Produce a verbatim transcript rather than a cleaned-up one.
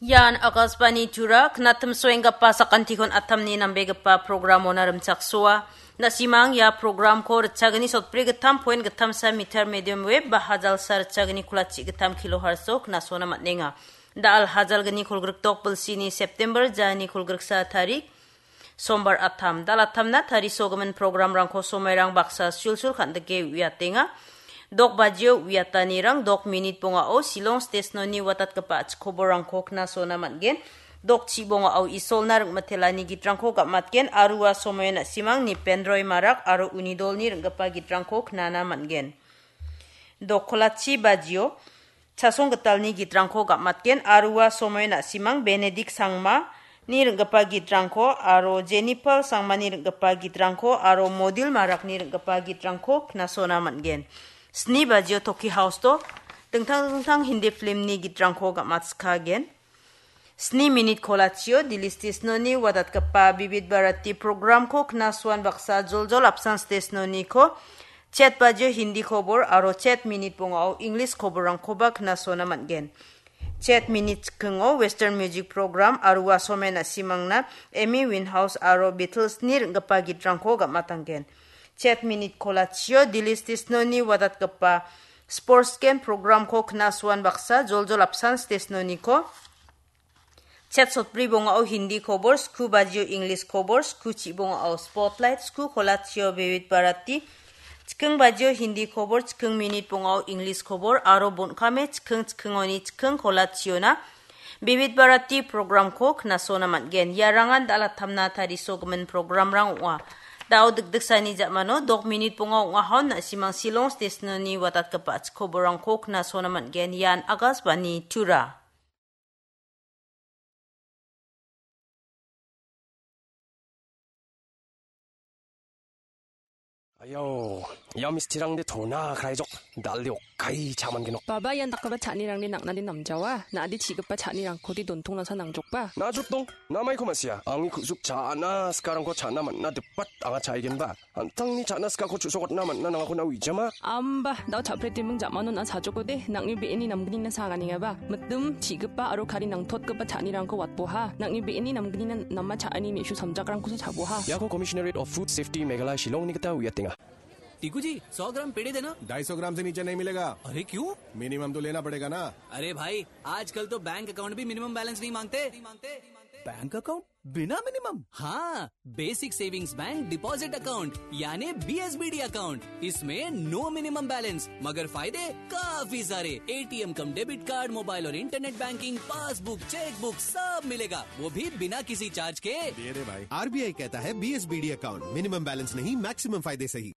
Ian Akashvani Tura, knatim soenggipa sakantikon atamni nambegipa programona rimchaksoa. Na·simang ia programko ritchagni sotbri gittam point gittamsa meter medium wave ba hajalsa ritchagni kulachi gittam kilohertz-o knasona man·enga. Da·al hajalgni kolgrikdok bilsini September jani kolgriksa tarik, Sombar atam. Da·al atamna tarisogimin programrangko somairang baksa sulsul kan·dike uiatenga. Dok bajio uiatanirang dok minit bongao Shillong Station-oni watatgipa chikoborangko knasona man·gen. Dok chibongao Isolna ring·mitelani gitrangko gam·atgen aro ua somoio na·simang Nipendroi Marak aro uni dolni ring·gipa gitrangko knana man·gen. Dok kolachi bajio Chasong Gitalni gitrangko gam·atgen aro ua somoio na·simang Benedict Sangmani ring·gipa gitrangko aro Jennifer Sangmani ring·gipa gitrangko aro Modil Marakni ring·gipa gitrangko knasona man·gen. Sni bajio Toki House-o dingtang dingtang Hindi filmni gitrangko gam·atskagen. Sni minit kolachio Delhi Station-oni watatgipa Bibit Bharati programko knasuan baksa joljol apsan Station-oniko chet bajio Hindi kobor aro chet minit bongao English koborrangkoba knasona man·gen. Chet minit chikingo Western Music Program aro ua somoio na·simangna Amy Winehouse aro Beatles-ni ring·gipa gitrangko gam·atanggen. Chet minit kolachio Delhi Station-oni watatgipa Sports Game programko knasuan baksa joljol apsan Station-oniko chet sotbri bongao Hindi kobor, sku bajio English kobor, sku chi bongao Spotlight, sku kolachio Bibit Bharati, chiking bajio Hindi kobor, chiking minit bongao English kobor, aro bon·kame chiking chikingoni chiking kolachiona Bibit Bharati programko knasona man·gen. Iarangan da·al atamna tarisogimin programrang ong·a. Da·o dikdiksani ja·mano dok minit bonga ong·ahon na·simang Shillong Station-oni watatgipa chikoborrangko knasona man·gen. Ian Akashvani Tura. Ayo, ia mistirangde tona kraijok, dal·de okkai cha·mangenok. Baba, ian dakgipa cha·anirangde nang·nade namjawa, na·ade chi·gipa cha·nirangkode dontongnasa nangjokba? Najotdong, namaiko ma·sia, angni ku·suk cha·ana sikarangko cha·na man·na dipat anga cha·aigenba. An·tangni cha·na sikako chu·sokatna man·na nangako na uijama? Amba, dao cha·pretiming ja·mano na·a sajokode, nang·ni be·eni namgnina saganengaba. Mitim, chi·gipa aro kari nangtotgipa cha·anirangko watboha. Nang·ni be·eni namgnina nama cha·ani me·su samjakrangkosa cha·boha. Iako Commissionerate of Food Safety Meghalaya Shillongni gita uiatenga. Tiku जी, सौ ग्राम पेड़े देना। ढाई सौ ग्राम से नीचे नहीं मिलेगा। अरे क्यों? मिनिमम तो लेना पड़ेगा ना। अरे भाई, आजकल तो बैंक अकाउंट भी मिनिमम बैलेंस नहीं मांगते। Bank account? बिना मिनिमम? हाँ, basic savings bank deposit account, यानी बीएसबीडी अकाउंट। इसमें नो मिनिमम बैलेंस, मगर फायदे काफी सारे। एटीएम कम डेबिट कार्ड, मोबाइल और इंटरनेट बैंकिंग, पासबुक, चेकबुक, सब मिलेगा, वो भी बिना किसी चार्ज के। ये रे भाई, आरबीआई कहता है बीएसबीडी अकाउंट, मिनिमम बैलेंस नहीं, मैक्सिमम फायदे सही।